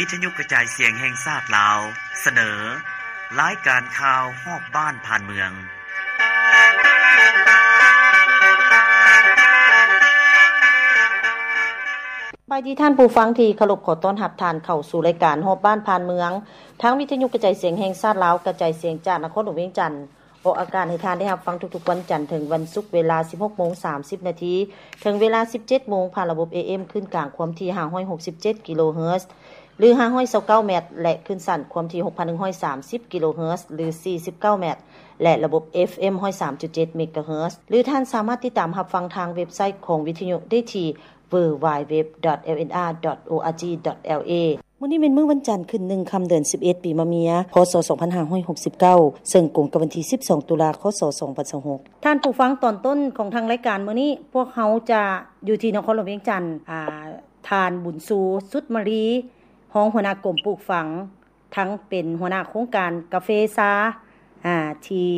ວິທະຍຸກະຈາຍສຽງແຫ່ງຊາດລາວ ສະເໜີ ລາຍການຂ່າວຮອບບ້ານຜ່ານເມືອງ. ສະບາຍດີທ່ານຜູ້ຟັງທີ່ເຄົາລົບ, ຂໍຕ້ອນຮັບທ່ານເຂົ້າສູ່ລາຍການຮອບບ້ານຜ່ານເມືອງ ທາງວິທະຍຸກະຈາຍສຽງແຫ່ງຊາດລາວ ກະຈາຍສຽງຈາກນະຄອນຫຼວງວຽງຈັນ. ອອກອາກາດໃຫ້ທ່ານໄດ້ຮັບຟັງທຸກໆວັນຈັນເຖິງວັນສຸກ ເວລາສິບຫົກໂມງສາມສິບນາທີ ເຖິງເວລາສິບເຈັດໂມງ ຜ່ານລະບົບ ເອເອັມ ຄື້ນກາງຄວາມຖີ່ຫ້າຮ້ອຍຫົກສິບເຈັດກິໂລເຮີດ ຫຼື ຫ້າຮ້ອຍຊາວເກົ້າແມັດ ແລະ ຄື້ນສັ້ນຄວາມຖີ່ຫົກພັນໜຶ່ງຮ້ອຍສາມສິບກິໂລເຮີດ ຫຼື ສີ່ສິບເກົ້າແມັດ ແລະ ລະບົບ ເອຟເອັມ ຮ້ອຍສາມຈຸດເຈັດເມກາເຮີດ ຫຼື ທ່ານສາມາດຕິດຕາມຮັບຟັງທາງເວັບໄຊຂອງວິທະຍຸໄດ້ທີ່ ดัບເບິນຢູດັບເບິນຢູດັບເບິນຢູດັບເບິນຢູ ດອດ ເອລເອັນອາ ດອດ ໂອອາຈີ ດອດ ແອລເອ ມື້ນີ້ແມ່ນມື້ວັນຈັນ ຂຶ້ນໜຶ່ງຄ່ຳ ເດືອນສິບເອັດ ປີມະເມີຍ ພ.ສ. ສອງພັນຫ້າຮ້ອຍຫົກສິບເກົ້າ ເຊິ່ງກົງກັບວັນທີສິບສອງ ຕຸລາ ຄ.ສ. ສອງພັນຊາວຫົກ. ທ່ານຜູ້ຟັງ, ຕອນຕົ້ນຂອງທາງລາຍການມື້ນີ້ ພວກເຮົາຈະຢູ່ທີ່ນະຄອນຫຼວງວຽງຈັນ, ອາ, ທ່ານ ບຸນຊູ ສຸດມາລີ ຮອງຫົວໜ້າກົມປູກຝັງ ທັງເປັນຫົວໜ້າໂຄງການກາເຟຊາ ອາ ທີ່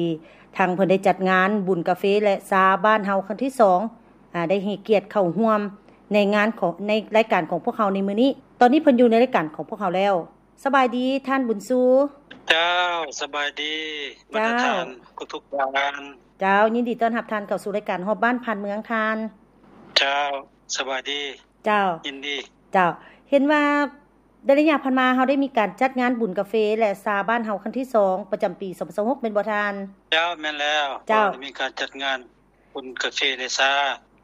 ທາງເພິ່ນໄດ້ຈັດງານບຸນກາເຟ ແລະ ຊາບ້ານເຮົາຄັ້ງທີສອງ ອາ ໄດ້ໃຫ້ກຽດເຂົ້າຮ່ວມໃນງານຂອງ ໃນລາຍການຂອງພວກເຮົາໃນມື້ນີ້. ຕອນນີ້ເພິ່ນຢູ່ໃນລາຍການຂອງພວກເຮົາແລ້ວ. ສະບາຍດີທ່ານບຸນຊູ. ເຈົ້າ, ສະບາຍດີ ບັນດາທ່ານທຸກໆທ່ານ. ເຈົ້າ, ຍິນດີຕ້ອນຮັບທ່ານເຂົ້າສູ່ລາຍການຮອບບ້ານຜ່ານເມືອງທ່ານ. ເຈົ້າ, ສະບາຍດີ. ເຈົ້າ, ຍິນດີ. ເຈົ້າ, ເຫັນວ່າ ໃນໄລຍະຜ່ານມາ ເຮົາໄດ້ມີການຈັດງານບຸນກາເຟ ແລະ ຊາບ້ານເຮົາຄັ້ງທີສອງ ປະຈຳປີສອງພັນຊາວຫົກ ແມ່ນບໍ່ທ່ານ? ເຈົ້າ, ແມ່ນແລ້ວ. ເຈົ້າ, ໄດ້ມີການຈັດງານບຸນກາເຟ ແລະ ຊາ.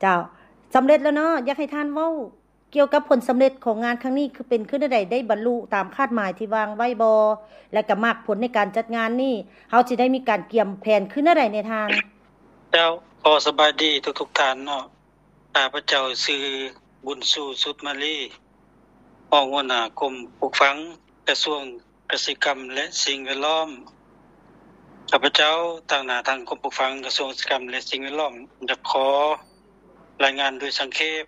ເຈົ້າ, ສຳເລັດແລ້ວເນາະ. ຢາກໃຫ້ທ່ານເວົ້າກ່ຽວກັບຜົນສຳເລັດຂອງງານຄັ້ງນີ້ ຄືເປັນຂຶ້ນແນວໃດ? ໄດ້ບັນລຸຕາມຄາດໝາຍທີ່ວາງໄວ້ບໍ່? ແລະ ກະໝາກຜົນໃນການຈັດງານນີ້ ເຮົາຊິໄດ້ມີການກຽມແຜນຄືແນວໃດແດ່ທ່ານ? ເຈົ້າ, ຂໍສະບາຍດີທຸກໆທ່ານເນາະ. ຂ້າພະເຈົ້າຊື່ ບຸນຊູ ສຸດມາລີ ຮອງຫົວໜ້າກົມປູກຝັງ ກະຊວງກະສິກຳ ແລະ ສິ່ງແວດລ້ອມ. ຂ້າພະເຈົ້າຕາງໜ້າທາງກົມປູກຝັງ ກະຊວງກະສິກຳ ແລະ ສິ່ງແວດລ້ອມ ຢາກຂໍລາຍງານໂດຍສັງເຂບ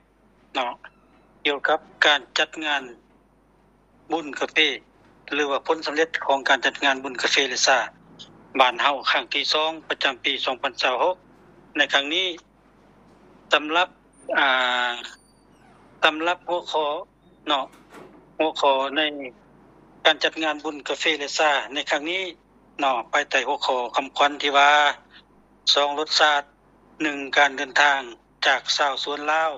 ເນາະ ກ່ຽວກັບການຈັດງານ ບຸນກາເຟ ຫຼືວ່າຜົນສຳເລັດຂອງການຈັດງານບຸນກາເຟ ແລະ ຊາບ້ານເຮົາຄັ້ງທີສອງ ປະຈຳປີສອງພັນຊາວຫົກ ໃນຄັ້ງນີ້. ສຳລັບ ອ່າ ສຳລັບຫົວຂໍ້ເນາະ ຫົວຂໍ້ໃນການຈັດງານບຸນກາເຟ ແລະ ຊາໃນຄັ້ງນີ້ເນາະ ພາຍໃຕ້ຫົວຂໍ້ຄຳຂວັນທີ່ວ່າ ສອງລົດຊາດ ໜຶ່ງການເດີນທາງຈາກຊາວສວນລາວ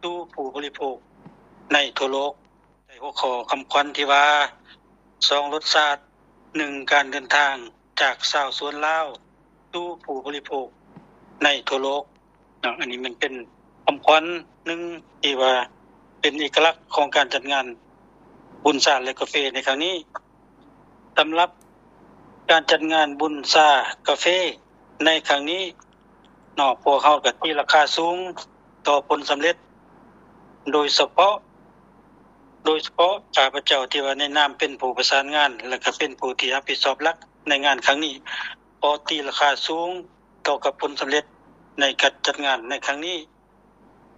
ສູ່ຜູ້ບໍລິໂພກໃນທົ່ວໂລກ. ໃນຫົວຂໍ້ຄຳຂວັນທີ່ວ່າ ສອງລົດຊາດ ໜຶ່ງການເດີນທາງຈາກຊາວສວນລາວສູ່ຜູ້ບໍລິໂພກໃນທົ່ວໂລກເນາະ. ອັນນີ້ມັນເປັນຄຳຂວັນໜຶ່ງທີ່ວ່າເປັນເອກະລັກຂອງການຈັດງານບຸນຊາ ແລະ ກາເຟໃນຄັ້ງນີ້. ສຳລັບການຈັດງານບຸນຊາກາເຟໃນຄັ້ງນີ້ເນາະ ພວກເຮົາກະຕີລາຄາສູງຕໍ່ຜົນສຳເລັດ ໂດຍສະເພາະ ໂດຍສະເພາະຂ້າພະເຈົ້າທີ່ວ່າໃນນາມເປັນຜູ້ປະສານງານ ແລະ ກະເປັນຜູ້ທີ່ຮັບຜິດຊອບຫຼັກໃນງານຄັ້ງນີ້ ກໍຕີລາຄາສູງຕໍ່ກັບຜົນສຳເລັດໃນການຈັດງານໃນຄັ້ງນີ້.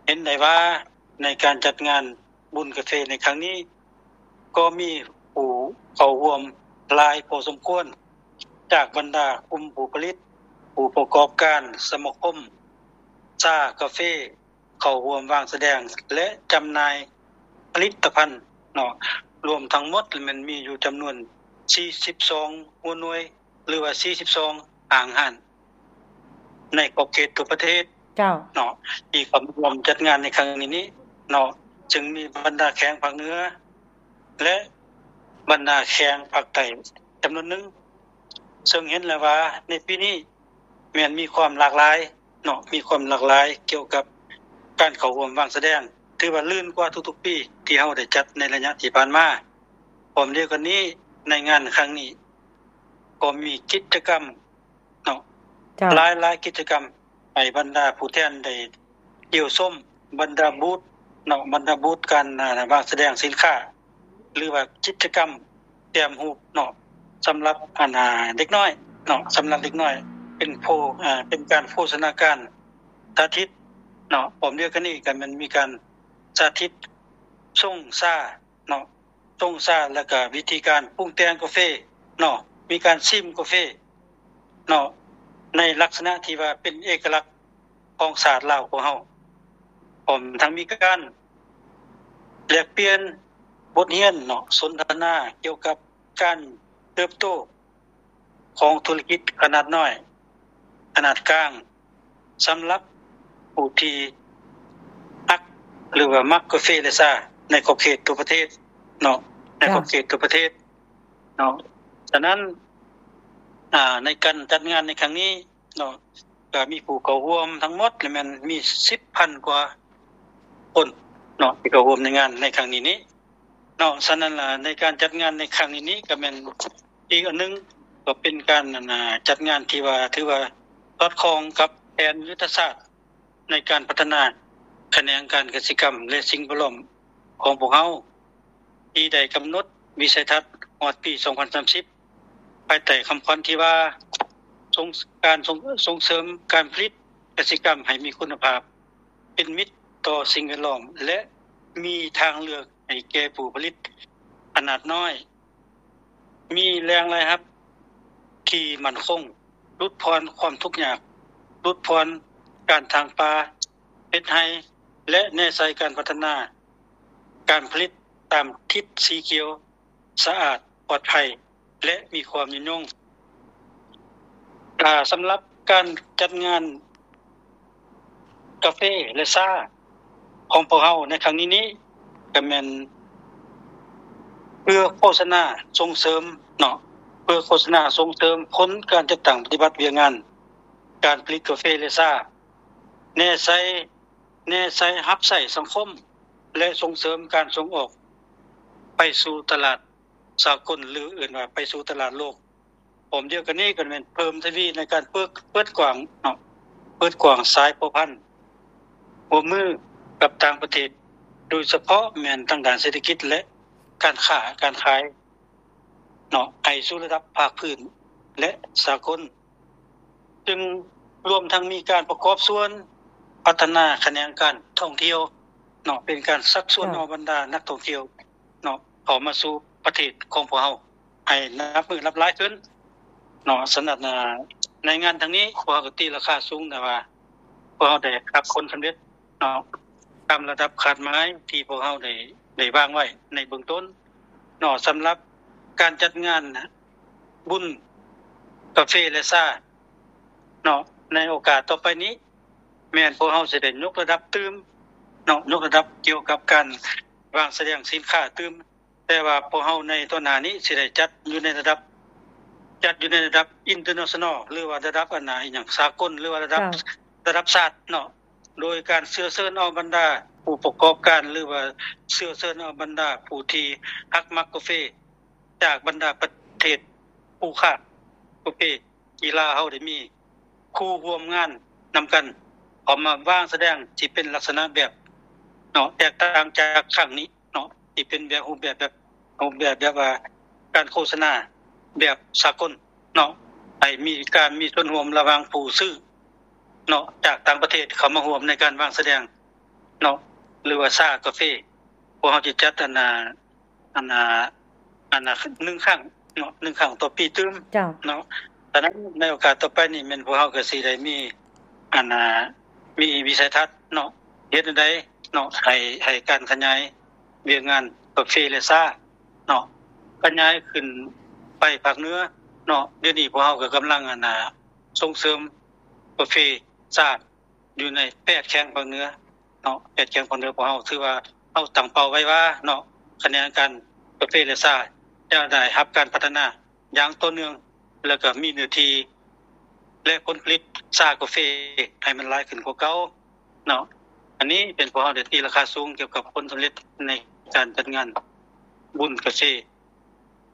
ເຫັນໄດ້ວ່າໃນການຈັດງານບຸນກາເຟໃນຄັ້ງນີ້ ກໍມີຜູ້ເຂົ້າຮ່ວມຫຼາຍພໍສົມຄວນ ຈາກບັນດາກຸ່ມຜູ້ຜະລິດ, ຜູ້ປະກອບການ, ສະມາຄົມຊາ, ກາເຟ, ເຂົ້າຮ່ວມວາງສະແດງ ແລະ ຈຳໜ່າຍຜະລິດຕະພັນເນາະ, ລວມທັງໝົດແມ່ນມີຢູ່ຈຳນວນສີ່ສິບສອງຫົວໜ່ວຍ ຫຼືວ່າສີ່ສິບສອງຫ້າງຮ້ານ ໃນຂອບເຂດທົ່ວປະເທດ ເຈົ້າ ເນາະ ທີ່ເຂົ້າມາຮ່ວມຈັດງານໃນຄັ້ງນີ້ເນາະ, ເຊິ່ງມີບັນດາແຂວງພາກເໜືອ ແລະ ບັນດາແຂວງພາກໃຕ້ຈຳນວນໜຶ່ງ, ເຊິ່ງເຫັນແລ້ວວ່າໃນປີນີ້ແມ່ນມີຄວາມຫຼາກຫຼາຍເນາະ, ມີຄວາມຫຼາກຫຼາຍກ່ຽວກັບການເຂົ້າຮ່ວມວາງສະແດງ, ຖືວ່າລື່ນກວ່າທຸກໆປີທີ່ເຮົາໄດ້ຈັດໃນໄລຍະທີ່ຜ່ານມາ. ພ້ອມດຽວກັນນີ້ ໃນງານຄັ້ງນີ້ກໍມີກິດຈະກຳ ເນາະ ເຈົ້າ ຫຼາຍໆກິດຈະກຳ ໃຫ້ບັນດາຜູ້ແທນໄດ້ທ່ຽວຊົມ ບັນດາບູດເນາະ, ບັນດາບູດການ ອາ ວາງສະແດງສິນຄ້າ ຫຼືວ່າກິດຈະກຳແຕ້ມຮູບເນາະ ສຳລັບ ອັນ ອາ ເດັກນ້ອຍເນາະ, ສຳລັບເດັກນ້ອຍ ເປັນໂພ ອາ ເປັນການໂພສະນາການສາທິດເນາະ. ພ້ອມດຽວກັນນີ້ກໍແມ່ນມີການສາທິດຊົງຊາເນາະ, ຊົງຊາ ແລ້ວກະວິທີການປຸງແຕ່ງກາເຟເນາະ, ມີການຊິມກາເຟເນາະ ໃນລັກສະນະທີ່ວ່າເປັນເອກະລັກຂອງຊາດລາວຂອງເຮົາ, ພ້ອມທັງມີການແລກປ່ຽນ ບົດຮຽນເນາະ ສົນທະນາກ່ຽວກັບການເຕີບໂຕຂອງທຸລະກິດຂະໜາດນ້ອຍ ຂະໜາດກາງ ສຳລັບຜູ້ທີ່ຮັກ ຫຼືວ່າມັກກາເຟ ແລະ ຊາ ໃນຂອບເຂດທົ່ວປະເທດເນາະ ໃນຂອບເຂດທົ່ວປະເທດເນາະ. ສະນັ້ນ ອາ ໃນການຈັດງານໃນຄັ້ງນີ້ເນາະ ກໍມີຜູ້ເຂົ້າຮ່ວມທັງໝົດແມ່ນມີສິບພັນກວ່າຄົນເນາະ ທີ່ເຂົ້າຮ່ວມໃນງານໃນຄັ້ງນີ້ນີ້ເນາະ. ສະນັ້ນລະ ໃນການຈັດງານໃນຄັ້ງນີ້ນີ້ ກໍແມ່ນອີກອັນໜຶ່ງ ກໍເປັນການ ອັນ ຈັດງານທີ່ວ່າ ຖືວ່າສອດຄ່ອງກັບແຜນຍຸດທະສາດ ໃນການພັດທະນາຂະແໜງການກະສິກຳ ແລະ ສິ່ງແວດລ້ອມຂອງພວກເຮົາ ທີ່ໄດ້ກຳນົດວິໄສທັດຮອດປີສອງພັນສາມສິບ ພາຍໃຕ້ຄຳຂວັນທີ່ວ່າ ສົ່ງ ການສົ່ງ ສົ່ງເສີມການຜະລິດກະສິກຳໃຫ້ມີຄຸນນະພາບ, ເປັນມິດຕໍ່ສິ່ງແວດລ້ອມ ແລະ ມີທາງເລືອກໃຫ້ແກ່ຜູ້ຜະລິດຂະໜາດນ້ອຍ. ມີແຫຼ່ງລາຍຮັບທີ່ໝັ້ນຄົງ, ຫຼຸດຜ່ອນຄວາມທຸກຍາກ, ຫຼຸດຜ່ອນການຖາງປ່າ, ເຮັດໄຮ່ ແລະ ແນໃສ່ການພັດທະນາການຜະລິດຕາມທິດສີຂຽວ, ສະອາດ, ປອດໄພ ແລະ ມີຄວາມຍືນຍົງ. ອາ ສຳລັບການຈັດງານ ກາເຟ ແລະ ຊາ ຂອງພວກເຮົາໃນຄັ້ງນີ້ນີ້ ກໍແມ່ນເພື່ອໂຄສະນາສົ່ງເສີມເນາະ ເພື່ອໂຄສະນາສົ່ງເສີມຜົນການຈັດຕັ້ງປະຕິບັດວຽກງານການຜະລິດກາເຟ ແລະ ຊາ ແນໃສ່ ແນໃສ່ຮັບໃຊ້ສັງຄົມ ແລະ ສົ່ງເສີມການສົ່ງອອກໄປສູ່ຕະຫຼາດສາກົນ ຫຼື ເອີ້ນວ່າໄປສູ່ຕະຫຼາດໂລກ. ພ້ອມດຽວກັນນີ້ກໍແມ່ນເພີ່ມທະວີໃນການເປີດ ເປີດກວ້າງເນາະ ເປີດກວ້າງສາຍພົວພັນຮ່ວມມືກັບຕ່າງປະເທດ ໂດຍສະເພາະແມ່ນທາງດ້ານເສດຖະກິດ ແລະ ການຄ້າການຂາຍເນາະ ໄປສູ່ລະດັບພາກພື້ນ ແລະ ສາກົນ ຊຶ່ງລວມທັງມີການປະກອບສ່ວນພັດທະນາຂະແໜງການທ່ອງທ່ຽວເນາະ ເປັນການຊັກຊວນເອົາບັນດານັກທ່ອງທ່ຽວ ເນາະ ເຂົ້າມາສູ່ປະເທດຂອງພວກເຮົາໃຫ້ນັບມື້ນັບຫຼາຍຂຶ້ນເນາະ. ສະນັ້ນ ໃນງານຄັ້ງນີ້ ພວກເຮົາກໍຕີລາຄາສູງ ແຕ່ວ່າພວກເຮົາໄດ້ຮັບຜົນສຳເລັດເນາະ ຕາມລະດັບຄາດໝາຍທີ່ພວກເຮົາໄດ້ ໄດ້ວາງໄວ້ໃນເບື້ອງຕົ້ນເນາະ. ສຳລັບການຈັດງານບຸນກາເຟ ແລະ ຊາເນາະ ໃນໂອກາດຕໍ່ໄປນີ້ ແມ່ນພວກເຮົາຊິໄດ້ຍົກລະດັບຕື່ມເນາະ ຍົກລະດັບກ່ຽວກັບການວາງສະແດງສິນຄ້າຕື່ມ ແຕ່ວ່າພວກເຮົາໃນຕໍ່ໜ້ານີ້ຊິໄດ້ຈັດຢູ່ໃນລະດັບ ຈັດຢູ່ໃນລະດັບ international ຫຼືວ່າລະດັບ ອັນນາ ອີຫຍັງ ສາກົນ ຫຼືວ່າລະດັບ ລະດັບຊາດເນາະ ໂດຍການເຊື້ອເຊີນເອົາບັນດາຜູ້ປະກອບການ ຫຼືວ່າເຊື້ອເຊີນເອົາບັນດາຜູ້ທີ່ຮັກມັກກາເຟ ຈາກບັນດາປະເທດຄູ່ຄ້າກາເຟ ທີ່ລາວເຮົາໄດ້ມີຄູ່ຮ່ວມງານນຳກັນ ເຂົ້າມາວາງສະແດງທີ່ເປັນລັກສະນະແບບເນາະ ແຕກຕ່າງຈາກຄັ້ງນີ້ເນາະ ທີ່ເປັນແບບ ຮູບແບບ ແບບ ຮູບແບບ ແບບວ່າການໂຄສະນາແບບສາກົນເນາະ ໃຫ້ມີການມີສ່ວນຮ່ວມລະຫວ່າງຜູ້ຊື້ເນາະ ຈາກຕ່າງປະເທດເຂົ້າມາຮ່ວມໃນການວາງສະແດງເນາະ ຫຼືວ່າຊາກາເຟ. ພວກເຮົາຈະຈັດ ອັນນາ ອັນນາ ອັນນາ ໜຶ່ງຄັ້ງເນາະ ໜຶ່ງຄັ້ງຕໍ່ປີຕື່ມເນາະ. ສະນັ້ນໃນໂອກາດຕໍ່ໄປນີ້ ແມ່ນພວກເຮົາກໍຊິໄດ້ມີ ອັນນາ ມີວິໄສທັດເນາະ ເຮັດແນວໃດເນາະ ໃຫ້ ໃຫ້ການຂະຫຍາຍວຽກງານກາເຟ ແລະ ຊາເນາະ ຂະຫຍາຍຂຶ້ນໄປພາກເໜືອເນາະ. ດຽວນີ້ພວກເຮົາກໍກຳລັງ ອັນນາ ສົ່ງເສີມກາເຟຊາ ຢູ່ໃນແປດແຂວງພາກເໜືອເນາະ ແປດແຂວງພາກເໜືອຂອງເຮົາ ຖືວ່າເຮົາຕັ້ງເປົ້າໄວ້ວ່າເນາະ ຂະແໜງການກາເຟ ແລະ ຊາ ຈະໄດ້ຮັບການພັດທະນາຢ່າງຕໍ່ເນື່ອງ ແລ້ວກໍມີເນື້ອທີ່ ແລະ ຜົນຜະລິດຊາກາເຟໃຫ້ມັນຫຼາຍຂຶ້ນກວ່າເກົ່າເນາະ. ອັນນີ້ເປັນພວກເຮົາໄດ້ຕີລາຄາສູງກ່ຽວກັບຜົນສຳເລັດໃນການຈັດງານບຸນກາເຟ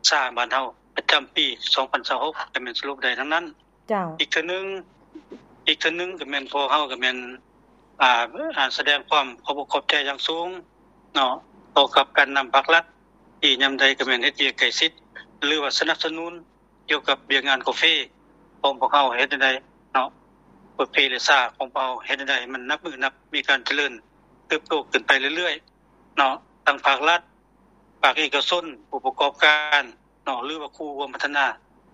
ຊາບ້ານເຮົາປະຈຳປີສອງພັນຊາວຫົກ ກໍແມ່ນສະຫຼຸບໄດ້ດັ່ງນັ້ນ. ເຈົ້າ ອີກເທື່ອໜຶ່ງ ອີກເທື່ອໜຶ່ງກໍແມ່ນພວກເຮົາກໍແມ່ນ ອ່າ ອ່າ ສະແດງຄວາມຂອບອົກຂອບໃຈຢ່າງສູງເນາະ ຕໍ່ກັບການນຳພາກລັດ ທີ່ຍາມໃດກໍແມ່ນເຮັດວຽກໃກ້ຊິດ ຫຼືວ່າສະໜັບສະໜູນກ່ຽວກັບວຽກງານກາເຟຂອງພວກເຮົາເຮັດແນວໃດເນາະ ກາເຟ ແລະ ຊາຂອງພວກເຮົາເຮັດແນວໃດໃຫ້ມັນນັບມື້ນັບມີການຈະເລີນເຕີບໂຕຂຶ້ນໄປເລື້ອຍໆເນາະ ທັງພາກລັດ ພາກເອກະຊົນ ຜູ້ປະກອບການເນາະ ຫຼືວ່າຄູ່ຮ່ວມພັດທະນາ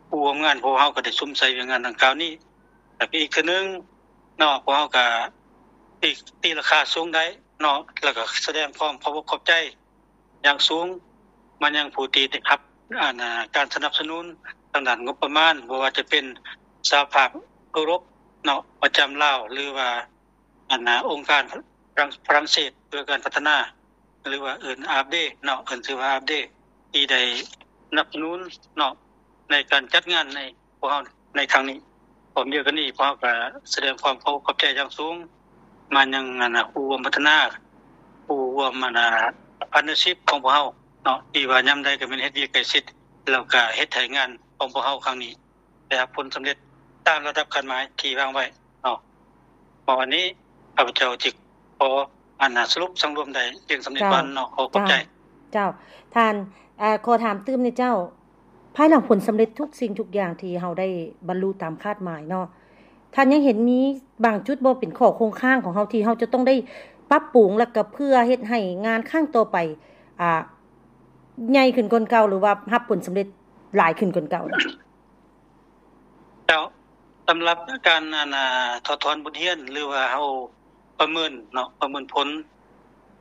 ຄູ່ຮ່ວມງານ ພວກເຮົາກໍໄດ້ສຸມໃສ່ວຽກງານດັ່ງກ່າວນີ້. ແລ້ວກໍອີກເທື່ອໜຶ່ງເນາະ ພວກເຮົາກໍຕີ ຕີລາຄາສູງໄດ້ເນາະ ແລ້ວກໍສະແດງຄວາມຂອບອົກຂອບໃຈຢ່າງສູງ ມາຍັງຜູ້ທີ່ໄດ້ຮັບ ອັນ ການສະໜັບສະໜູນທາງດ້ານງົບປະມານ ບໍ່ວ່າຈະເປັນສະຫະພາບເອີຣົບເນາະ ປະຈຳລາວ ຫຼືວ່າ ອັນ ອົງການຝຣັ່ງ ຝຣັ່ງເສດເພື່ອການພັດທະນາ ຫຼືວ່າເອີ້ນ ອາເບ ເນາະ ເອີ້ນຊື່ວ່າ ອາເບ ທີ່ໄດ້ສະໜັບສະໜູນເນາະ ໃນການຈັດງານໃນພວກເຮົາໃນຄັ້ງນີ້. ພ້ອມດຽວກັນນີ້ ພວກເຮົາກໍສະແດງຄວາມຂອບ ຂອບໃຈຢ່າງສູງມາຍັງ ອັນ ຄູ່ຮ່ວມພັດທະນາ ຄູ່ຮ່ວມ ອັນ ພາດເນີຊິບຂອງພວກເຮົາເນາະ ທີ່ວ່າຍາມໃດກໍແມ່ນເຮັດວຽກໃກ້ຊິດ ແລ້ວກໍເຮັດໃຫ້ງານຂອງພວກເຮົາຄັ້ງນີ້ ໄດ້ຮັບຜົນສຳເລັດຕາມລະດັບຄາດໝາຍທີ່ວາງໄວ້ເນາະ. ເພາະອັນນີ້ ຂ້າພະເຈົ້າຈຶ່ງຂໍ ອັນ ສະຫຼຸບສັງລວມໄດ້ພຽງສ່ຳນີ້ກ່ອນເນາະ. ເຈົ້າ ຂໍຂອບໃຈ. ເຈົ້າ ເຈົ້າ ທ່ານ ເອີ ຂໍຖາມຕື່ມແດ່ເຈົ້າ ພາຍຫຼັງຜົນສຳເລັດທຸກສິ່ງທຸກຢ່າງທີ່ເຮົາໄດ້ບັນລຸຕາມຄາດໝາຍເນາະ ທ່ານຍັງເຫັນມີບາງຈຸດບໍ່ ເປັນຂໍ້ຄົງຄ້າງຂອງເຮົາ ທີ່ເຮົາຈະຕ້ອງໄດ້ປັບປຸງ ແລ້ວກໍເພື່ອເຮັດໃຫ້ງານຄັ້ງຕໍ່ໄປ ອ່າ ໃຫຍ່ຂຶ້ນກວ່າເກົ່າ ຫຼືວ່າຮັບຜົນສຳເລັດຫຼາຍຂຶ້ນກວ່າເກົ່າ? ເຈົ້າ ສຳລັບການ ອັນ ອ່າ ຖອດຖອນບົດຮຽນ ຫຼືວ່າເຮົາປະເມີນເນາະ ປະເມີນຜົນ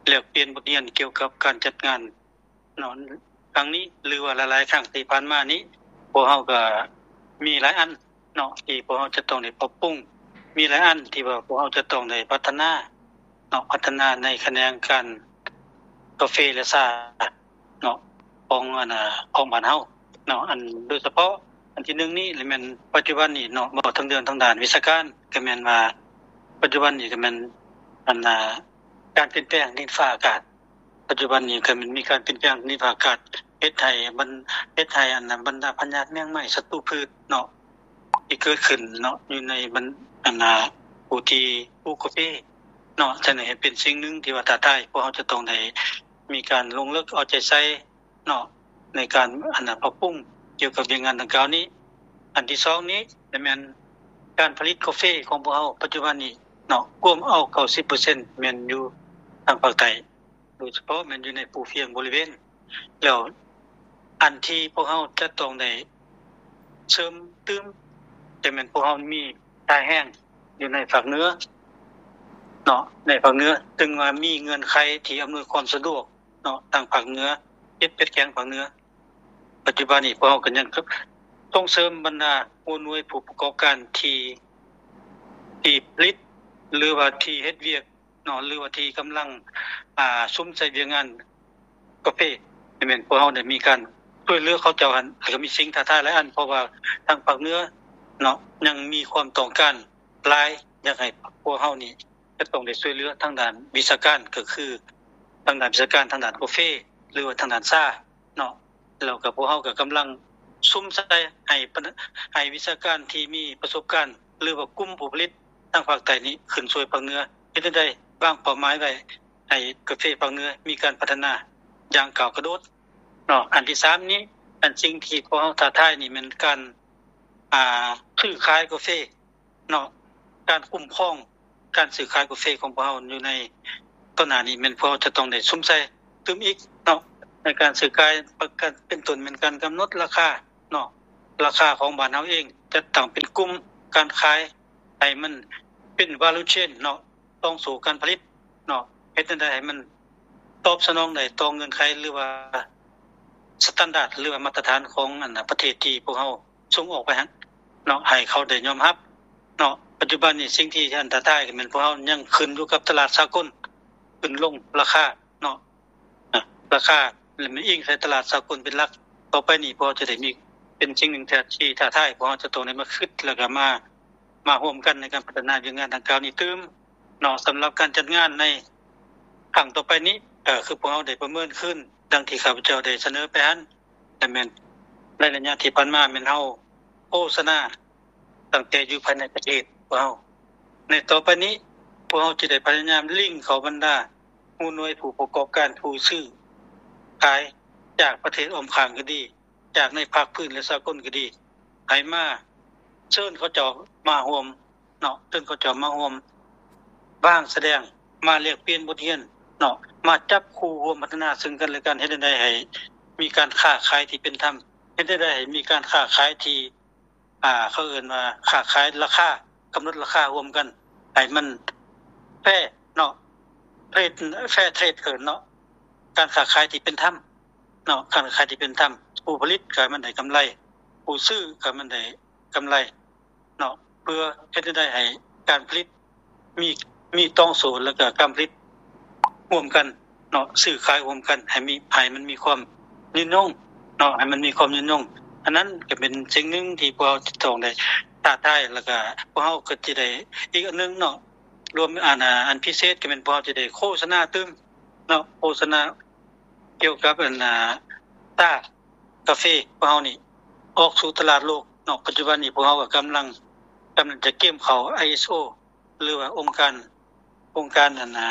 ແລກປ່ຽນບົດຮຽນກ່ຽວກັບການຈັດງານເນາະ ຄັ້ງນີ້ ຫຼືວ່າຫຼາຍໆຄັ້ງທີ່ຜ່ານມານີ້ ພວກເຮົາກໍມີຫຼາຍອັນເນາະ ທີ່ພວກເຮົາຈະຕ້ອງໄດ້ປັບປຸງ ມີຫຼາຍອັນທີ່ວ່າພວກເຮົາຈະຕ້ອງໄດ້ພັດທະນາ ເນາະ ພັດທະນາໃນຂະແໜງການກາເຟ ແລະ ຊາເນາະ ຂອງ ອັນ ຂອງບ້ານເຮົາເນາະ. ອັນ ໂດຍສະເພາະອັນທີໜຶ່ງນີ້ແມ່ນປັດຈຸບັນນີ້ເນາະ ເວົ້າເຖິງເລື່ອງທາງດ້ານວິຊາການ ກໍແມ່ນວ່າປັດຈຸບັນນີ້ກໍແມ່ນ ອັນ ການປ່ຽນແປງດິນຟ້າອາກາດ ປັດຈຸບັນນີ້ກໍແມ່ນມີການປ່ຽນແປງດິນຟ້າອາກາດ ເຮັດໃຫ້ບັນ ເຮັດໃຫ້ ອັນ ບັນດາພະຍາດແມງໄມ້ ສັດຕູພືດເນາະ ທີ່ເກີດຂຶ້ນເນາະ ຢູ່ໃນບັນ ອັນ ຜູ້ທີ່ປູກກາເຟເນາະ. ສະນັ້ນເປັນສິ່ງໜຶ່ງທີ່ວ່າທ້າທາຍ ພວກເຮົາຈະຕ້ອງໄດ້ມີການລົງເລິກເອົາໃຈໃສ່ເນາະ ໃນການ ອັນ ປັບປຸງກ່ຽວກັບວຽກງານດັ່ງກ່າວນີ້. ອັນທີສອງນີ້ແມ່ນການຜະລິດກາເຟຂອງພວກເຮົາປັດຈຸບັນນີ້ເນາະ ກວມເອົາ ເກົ້າສິບເປີເຊັນ ແມ່ນຢູ່ທາງພາກໃຕ້ ໂດຍສະເພາະແມ່ນຢູ່ໃນພູພຽງບໍລິເວນ ແລ້ວອັນທີ່ພວກເຮົາຈະຕ້ອງໄດ້ເສີມຕື່ມ ຈະແມ່ນພວກເຮົາມີທ່າແຮງຢູ່ໃນພາກເໜືອເນາະ ໃນພາກເໜືອ ເຊິ່ງວ່າມີເງື່ອນໄຂທີ່ອຳນວຍຄວາມສະດວກເນາະ ທາງພາກເໜືອ ເຈັດ ແປດແຂວງພາກເໜືອ. ປັດຈຸບັນນີ້ພວກເຮົາກໍຍັງສົ່ງເສີມບັນດາຫົວໜ່ວຍຜູ້ປະກອບການທີ່ ທີ່ຜະລິດ ຫຼືວ່າທີ່ເຮັດວຽກ ເນາະ ຫຼືວ່າທີ່ກຳລັງ ອ່າ ສຸມໃສ່ວຽກງານກາເຟ ແມ່ນພວກເຮົາໄດ້ມີການຊ່ວຍເຫຼືອເຂົາເຈົ້າຫັ້ນ ກໍມີສິ່ງທ້າທາຍຫຼາຍອັນ ເພາະວ່າທາງພາກເໜືອເນາະ ຍັງມີຄວາມຕ້ອງການຫຼາຍ ຢາກໃຫ້ພວກເຮົານີ້ຈະຕ້ອງໄດ້ຊ່ວຍເຫຼືອທາງດ້ານວິຊາການ ກໍຄືທາງດ້ານວິຊາການ ທາງດ້ານກາເຟ ຫຼືວ່າທາງດ້ານຊາເນາະ. ແລ້ວກໍພວກເຮົາກໍກຳລັງສຸມໃສ່ໃຫ້ ໃຫ້ວິຊາການທີ່ມີປະສົບການ ຫຼືວ່າກຸ່ມຜູ້ຜະລິດທາງພາກໃຕ້ນີ້ຂຶ້ນຊ່ວຍພາກເໜືອ ເຮັດແນວໃດວາງເປົ້າໝາຍໄວ້ໃຫ້ກາເຟພາກເໜືອມີການພັດທະນາຢ່າງກ້າວກະໂດດເນາະ. ອັນທີສາມນີ້ ອັນສິ່ງທີ່ພວກເຮົາທ້າທາຍນີ້ແມ່ນການ ອ່າ ຊື້ຂາຍກາເຟ ເນາະ ການຄຸ້ມຄອງການຊື້ຂາຍກາເຟຂອງພວກເຮົາຢູ່ໃນຕໍ່ໜ້ານີ້ ແມ່ນພວກເຮົາຈະຕ້ອງໄດ້ສຸມໃສ່ຕື່ມອີກເນາະ ໃນການຊື້ຂາຍ ປະການເປັນຕົ້ນແມ່ນການກຳນົດລາຄາເນາະ ລາຄາຂອງບ້ານເຮົາເອງ ຈັດຕັ້ງເປັນກຸ່ມການຂາຍໃຫ້ມັນເປັນ value chain ເນາະ ຕ່ອງໂສ້ການຜະລິດເນາະ ເຮັດແນວໃດໃຫ້ມັນຕອບສະໜອງໄດ້ຕໍ່ເງື່ອນໄຂ ຫຼືວ່າ ສະຕານດາດ ຫຼືວ່າມາດຕະຖານຂອງ ອັນ ປະເທດທີ່ພວກເຮົາ ສົ່ງອອກໄປຫັ້ນເນາະ ໃຫ້ເຂົາໄດ້ຍອມຮັບເນາະ. ປັດຈຸບັນນີ້ສິ່ງທີ່ອັນຕະລາຍກໍແມ່ນພວກເຮົາຍັງຂຶ້ນຢູ່ກັບຕະຫຼາດສາກົນ ຂຶ້ນລົງລາຄາເນາະ ລາຄາ ແລະ ແມ່ນອີງໃສ່ຕະຫຼາດສາກົນເປັນຫຼັກ. ຕໍ່ໄປນີ້ພວກເຮົາຈະໄດ້ມີ ເປັນສິ່ງໜຶ່ງທີ່ ທີ່ທ້າທາຍ ພວກເຮົາຈະຕ້ອງໄດ້ມາຄິດ ແລ້ວກໍມາ ມາຮ່ວມກັນໃນການພັດທະນາວຽກງານດັ່ງກ່າວນີ້ຕື່ມເນາະ. ສຳລັບການຈັດງານໃນຄັ້ງຕໍ່ໄປນີ້ ກໍຄືພວກເຮົາໄດ້ປະເມີນຄືນ ດັ່ງທີ່ຂ້າພະເຈົ້າໄດ້ສະເໜີໄປຫັ້ນ ແລະ ແມ່ນໃນໄລຍະທີ່ຜ່ານມາແມ່ນເຮົາໂຄສະນາຕັ້ງແຕ່ຢູ່ພາຍໃນປະເທດພວກເຮົາ. ໃນຕໍ່ໄປນີ້ ພວກເຮົາຈະໄດ້ພະຍາຍາມລິງເຂົ້າບັນດາຫົວໜ່ວຍຜູ້ປະກອບການ ຜູ້ຊື້ຂາຍຈາກປະເທດອ້ອມຂ້າງກໍດີ ຈາກໃນພາກພື້ນ ແລະ ສາກົນກໍດີ ໃຫ້ມາເຊີນເຂົາເຈົ້າມາຮ່ວມ ເນາະ ເຊິ່ງເຂົາເຈົ້າມາຮ່ວມວາງສະແດງ ມາແລກປ່ຽນບົດຮຽນເນາະ ມາຈັບຄູ່ຮ່ວມພັດທະນາເຊິ່ງກັນແລະກັນ ເຮັດແນວໃດໃຫ້ມີການຄ້າຂາຍທີ່ເປັນທຳ ເຮັດແນວໃດໃຫ້ມີການຄ້າຂາຍທີ່ ອ່າ ເຂົາເອີ້ນວ່າຄ້າຂາຍລາຄາ ກຳນົດລາຄາຮ່ວມກັນໃຫ້ມັນແຟເນາະ ເທຣດ ແຟເທຣດ ເອີ້ນເນາະ ການຄ້າຂາຍທີ່ເປັນທຳ. ເນາະ ການຄ້າທີ່ເປັນທຳ, ຜູ້ຜະລິດກໍໃຫ້ມັນໄດ້ກຳໄລ, ຜູ້ຊື້ກໍໃຫ້ມັນໄດ້ກຳໄລເນາະ ເພື່ອເຮັດໃຫ້ໄດ້ ໃຫ້ການຜະລິດມີ ມີຕ່ອງໂສນ ແລ້ວກໍການຜະລິດຮ່ວມກັນເນາະ, ຊື້ຂາຍຮ່ວມກັນ ໃຫ້ມີ ໃຫ້ມັນມີຄວາມຍືນຍົງເນາະ, ໃຫ້ມັນມີຄວາມຍືນຍົງ. ອັນນັ້ນກໍເປັນສິ່ງໜຶ່ງທີ່ພວກເຮົາຈະຕ້ອງໄດ້ທ້າທາຍ, ແລ້ວກໍພວກເຮົາກໍຈະໄດ້ ອີກອັນໜຶ່ງເນາະ ລວມ ອັນ ອັນພິເສດກໍແມ່ນພວກເຮົາຈະໄດ້ໂຄສະນາຕື່ມເນາະ, ໂຄສະນາ ກ່ຽວກັບ ອັນ ອ່າ ຊາກາເຟຂອງເຮົານີ້ອອກສູ່ຕະຫຼາດໂລກເນາະ. ປັດຈຸບັນນີ້ພວກເຮົາກໍກຳລັງ ກຳລັງຈະກຽມເຂົ້າ ໄອເອສໂອ ຫຼືວ່າອົງການ ອົງການ ອັນ ອ່າ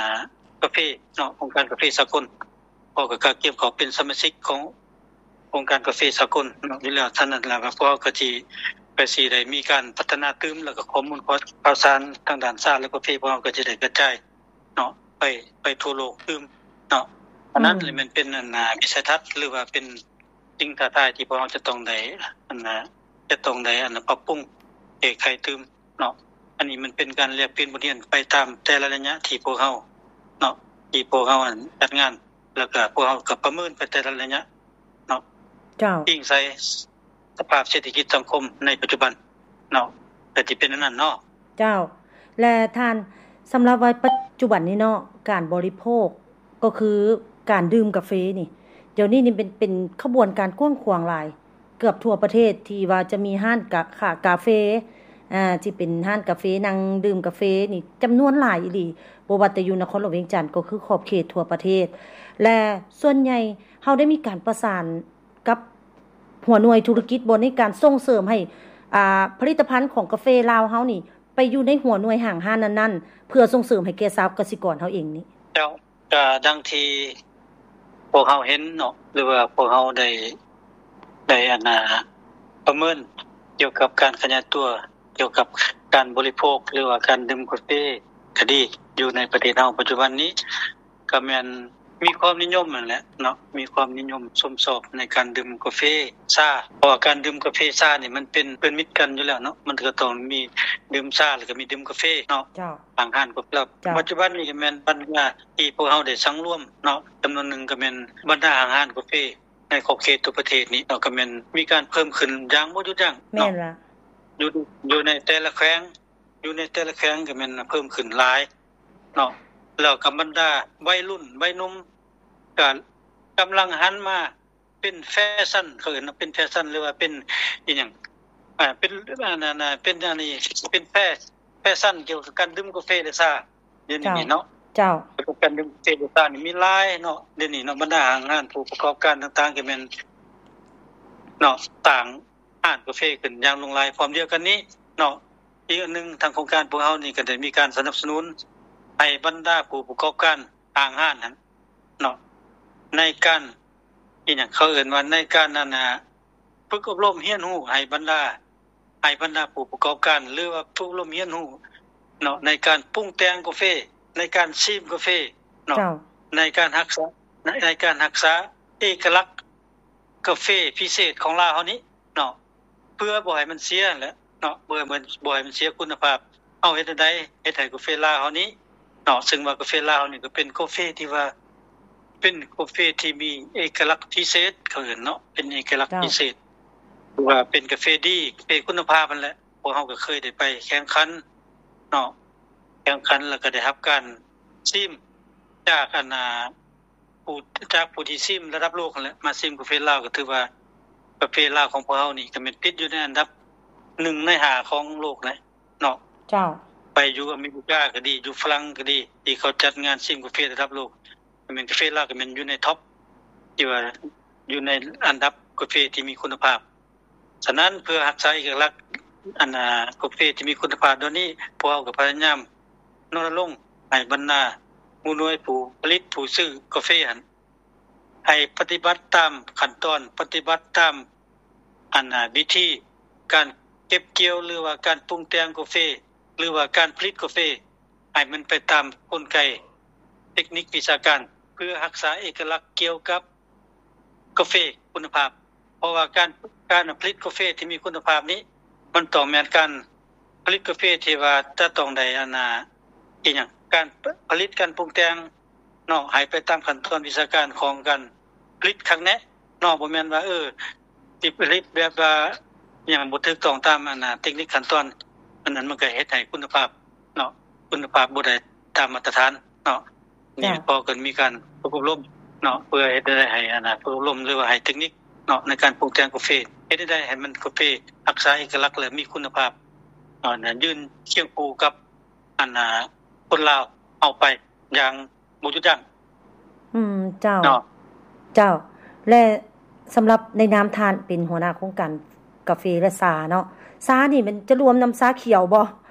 ກາເຟເນາະ, ອົງການກາເຟສາກົນ. ເຮົາກໍກະກຽມເຂົ້າເປັນສະມາຊິກຂອງອົງການກາເຟສາກົນເນາະ ຢູ່ແລ້ວ. ສະນັ້ນແລ້ວ ພວກເຮົາກໍຊິ ກໍຊິໄດ້ມີການພັດທະນາຕື່ມ ແລ້ວກໍຂໍ້ມູນຂ່າວສານທາງດ້ານຊາ ແລະ ກາເຟ ພວກເຮົາກໍຈະໄດ້ກະຈາຍ ເນາະ ໄປ ໄປທົ່ວໂລກຕື່ມເນາະ. ອັນນັ້ນ ອືມ ແມ່ນເປັນ ອັນ ອ່າ ວິໄສທັດ ຫຼືວ່າເປັນສິ່ງທ້າທາຍທີ່ພວກເຮົາຈະຕ້ອງໄດ້ ອັນ ອ່າ ຈະຕ້ອງໄດ້ ອັນ ປັບປຸງແກ້ໄຂຕື່ມເນາະ. ອັນນີ້ມັນເປັນການແລກປ່ຽນບົດຮຽນໄປຕາມແຕ່ລະໄລຍະທີ່ພວກເຮົາເນາະ ທີ່ພວກເຮົາ ອັນ ຈັດງານ ແລ້ວກໍພວກເຮົາກໍປະເມີນໄປແຕ່ລະໄລຍະ ເນາະ ເຈົ້າ ອີງໃສ່ສະພາບເສດຖະກິດສັງຄົມໃນປັດຈຸບັນເນາະ ກໍຊິເປັນອັນນັ້ນເນາະ. ເຈົ້າ ແລະ ທ່ານ ສຳລັບວ່າປັດຈຸບັນນີ້ເນາະ ການບໍລິໂພກ ກໍຄືການດື່ມກາເຟນີ້ ດຽວນີ້ນີ້ເປັນ ເປັນຂະບວນການກວ້າງຂວາງຫຼາຍ ເກືອບທົ່ວປະເທດ ທີ່ວ່າຈະມີຮ້ານກາ ຂາຍກາເຟ ອ່າ ທີ່ເປັນຮ້ານກາເຟ ນັ່ງດື່ມກາເຟນີ້ຈຳນວນຫຼາຍອີ່ຫຼີ ບໍ່ວ່າແຕ່ຢູ່ນະຄອນຫຼວງວຽງຈັນ ກໍຄືຂອບເຂດທົ່ວປະເທດ ແລະ ສ່ວນໃຫຍ່ເຮົາໄດ້ມີການປະສານ ກັບຫົວໜ່ວຍທຸລະກິດບໍ່ ໃນການສົ່ງເສີມໃຫ້ ອ່າ ຜະລິດຕະພັນຂອງກາເຟລາວເຮົານີ້ ໄປຢູ່ໃນຫົວໜ່ວຍຫ້າງຮ້ານນັ້ນໆ ເພື່ອສົ່ງເສີມໃຫ້ແກ່ຊາວກະສິກອນເຮົາເອງນີ້? ເຈົ້າ ກະດັ່ງທີ່ພວກເຮົາເຫັນເນາະ ຫຼືວ່າພວກເຮົາໄດ້ ໄດ້ ອັນ ປະເມີນກ່ຽວກັບການຂະຫຍາຍຕົວ ກ່ຽວກັບການບໍລິໂພກ ຫຼືວ່າການດື່ມກາເຟກໍດີ ຢູ່ໃນປະເທດເຮົາປັດຈຸບັນນີ້ ກໍແມ່ນມີຄວາມນິຍົມນັ້ນແຫຼະເນາະ ມີຄວາມນິຍົມຊົມຊອບໃນການດື່ມກາເຟຊາ ເພາະວ່າການດື່ມກາເຟຊານີ້ມັນເປັນເພື່ອນມິດກັນຢູ່ແລ້ວເນາະ ມັນກໍຕ້ອງມີດື່ມຊາ ແລ້ວກໍມີດື່ມກາເຟເນາະ. ເຈົ້າ ຫ້າງຮ້ານກໍແລ້ວ ເຈົ້າ ປັດຈຸບັນນີ້ກໍແມ່ນບັນດາທີ່ພວກເຮົາໄດ້ສັງລວມເນາະ ຈຳນວນໜຶ່ງກໍແມ່ນບັນດາຫ້າງຮ້ານກາເຟໃນຂອບເຂດທົ່ວປະເທດນີ້ເນາະ ກໍແມ່ນມີການເພີ່ມຂຶ້ນຢ່າງບໍ່ຢຸດຢັ້ງເນາະ. ແມ່ນລະ ຢູ່ ຢູ່ໃນແຕ່ລະແຂວງ ຢູ່ໃນແຕ່ລະແຂວງກໍແມ່ນເພີ່ມຂຶ້ນຫຼາຍເນາະ ແລ້ວກໍບັນດາໄວລຸ້ນໄວໜຸ່ມກໍກຳລັງຫັນມາເປັນແຟຊັນ ເຂົາເອີ້ນວ່າເປັນແຟຊັນ ຫຼືວ່າເປັນອີ່ຫຍັງ ອ່າ ເປັນ ອັນນັ້ນ ເປັນອັນນີ້ ເປັນແຟ ແຟຊັນກ່ຽວກັບການດື່ມກາເຟ ແລະ ຊາ ດຽວນີ້ເນາະ. ເຈົ້າ ກ່ຽວກັບການດື່ມກາເຟ ແລະ ຊານີ້ມີຫຼາຍເນາະ ດຽວນີ້ເນາະ ບັນດາຫ້າງຮ້ານ ຜູ້ປະກອບການຕ່າງໆ ກໍແມ່ນເນາະ ສ້າງຮ້ານກາເຟຂຶ້ນຢ່າງຫຼວງຫຼາຍ. ພ້ອມດຽວກັນນີ້ເນາະ ອີກອັນໜຶ່ງ ທາງໂຄງການພວກເຮົານີ້ກໍໄດ້ມີການສະໜັບສະໜູນໃຫ້ບັນດາຜູ້ປະກອບການຫ້າງຮ້ານຫັ້ນເນາະ ໃນການ ອີ່ຫຍັງ ເຂົາເອີ້ນວ່າໃນການ ອັນ ຝຶກອົບຮົມຮຽນຮູ້ໃຫ້ບັນດາ ໃຫ້ບັນດາຜູ້ປະກອບການ ຫຼືວ່າຝຶກອົບຮົມຮຽນຮູ້ເນາະ ໃນການປຸງແຕ່ງກາເຟ ໃນການຊີມກາເຟເນາະ ເຈົ້າ ໃນການຮັກສາ ໃນ ໃນການຮັກສາເອກະລັກກາເຟພິເສດຂອງລາວເຮົານີ້ເນາະ ເພື່ອບໍ່ໃຫ້ມັນເສຍແຫຼະເນາະ ເພື່ອບໍ່ໃຫ້ມັນເສຍຄຸນນະພາບ. ເຮົາເຮັດແນວໃດເຮັດໃຫ້ກາເຟລາວເຮົານີ້ເນາະ ເຊິ່ງວ່າກາເຟລາວເຮົານີ້ກໍເປັນກາເຟທີ່ວ່າ ເປັນກາເຟທີ່ມີເອກະລັກພິເສດ ເຂົາເອີ້ນເນາະ ເປັນເອກະລັກ ເຈົ້າ ພິເສດ ຫຼືວ່າເປັນກາເຟດີ ກາເຟຄຸນນະພາບຫັ້ນແຫຼະ. ພວກເຮົາກໍເຄີຍໄດ້ໄປແຂ່ງຂັນເນາະ ແຂ່ງຂັນ ແລ້ວກໍໄດ້ຮັບການຊີມຈາກ ອັນ ອ່າ ຜູ້ ຈາກຜູ້ທີ່ຊີມລະດັບໂລກຫັ້ນແຫຼະ ມາຊີມກາເຟລາວ ກໍຖືວ່າກາເຟລາວຂອງພວກເຮົານີ້ກໍແມ່ນຕິດຢູ່ໃນອັນດັບໜຶ່ງໃນຫ້າຂອງໂລກແຫຼະເນາະ. ເຈົ້າ ໄປຢູ່ອາເມລິກາກໍດີ ຢູ່ຝຣັ່ງກໍດີ ທີ່ເຂົາຈັດງານຊີມກາເຟລະດັບໂລກ ກໍແມ່ນກາເຟລາວກໍແມ່ນຢູ່ໃນທັອບ ທີ່ວ່າຢູ່ໃນອັນດັບກາເຟທີ່ມີຄຸນນະພາບ. ສະນັ້ນ ເພື່ອຮັກສາເອກະລັກ ອັນ ອ່າ ກາເຟທີ່ມີຄຸນນະພາບດຽວນີ້ ພວກເຮົາກໍພະຍາຍາມ ລົນນະລົງໃຫ້ບັນດາຫົວໜ່ວຍຜູ້ຜະລິດ ຜູ້ຊື້ກາເຟຫັ້ນ ໃຫ້ປະຕິບັດຕາມຂັ້ນຕອນ ປະຕິບັດຕາມ ອັນ ວິທີການເກັບກ່ຽວ ຫຼືວ່າການປຸງແຕ່ງກາເຟ ຫຼືວ່າການຜະລິດກາເຟ ໃຫ້ມັນໄປຕາມກົນໄກເຕັກນິກວິຊາການ ເພື່ອຮັກສາເອກະລັກກ່ຽວກັບ ກາເຟຄຸນນະພາບ ເພາະວ່າການ ການຜະລິດກາເຟທີ່ມີຄຸນນະພາບນີ້ ມັນຕ້ອງແມ່ນການຜະລິດກາເຟທີ່ວ່າຈະຕ້ອງໄດ້ ອັນ ອີ່ຫຍັງ ການຜະລິດ ການປຸງແຕ່ງເນາະ ໃຫ້ໄປຕາມຂັ້ນຕອນວິຊາການຂອງການຜະລິດຄັກແນ່ ເນາະ ບໍ່ແມ່ນວ່າ ເອີ ຊິຜະລິດແບບວ່າຫຍັງບໍ່ຖືກຕ້ອງຕາມອັນນະ ເຕັກນິກຂັ້ນຕອນ ອັນນັ້ນມັນກໍເຮັດໃຫ້ຄຸນນະພາບເນາະ ຄຸນນະພາບບໍ່ໄດ້ຕາມມາດຕະຖານເນາະ. ນີ້ ເຈົ້າ ພໍກໍມີການຝຶກອົບຮົມເນາະ ເພື່ອເຮັດໃຫ້ ໃຫ້ອັນນະ ຝຶກອົບຮົມ ຫຼືວ່າໃຫ້ເຕັກນິກເນາະ ໃນການປຸງແຕ່ງກາເຟ ເຮັດໃດໃຫ້ມັນກາເຟຮັກສາເອກະລັກ ແລະ ມີຄຸນນະພາບເນາະ ນະ ຢືນຄຽງຄູ່ກັບອັນນະ ຄົນລາວເຮົາໄປຢ່າງ ບໍ່ຢຸດຢັ້ງ. ອືມ ເຈົ້າ ເນາະ ເຈົ້າ ແລະ ສຳລັບໃນນາມທ່ານເປັນຫົວໜ້າໂຄງການກາເຟ ແລະ ຊາເນາະ ຊານີ້ມັນຈະລວມນຳຊາຂຽວບໍ່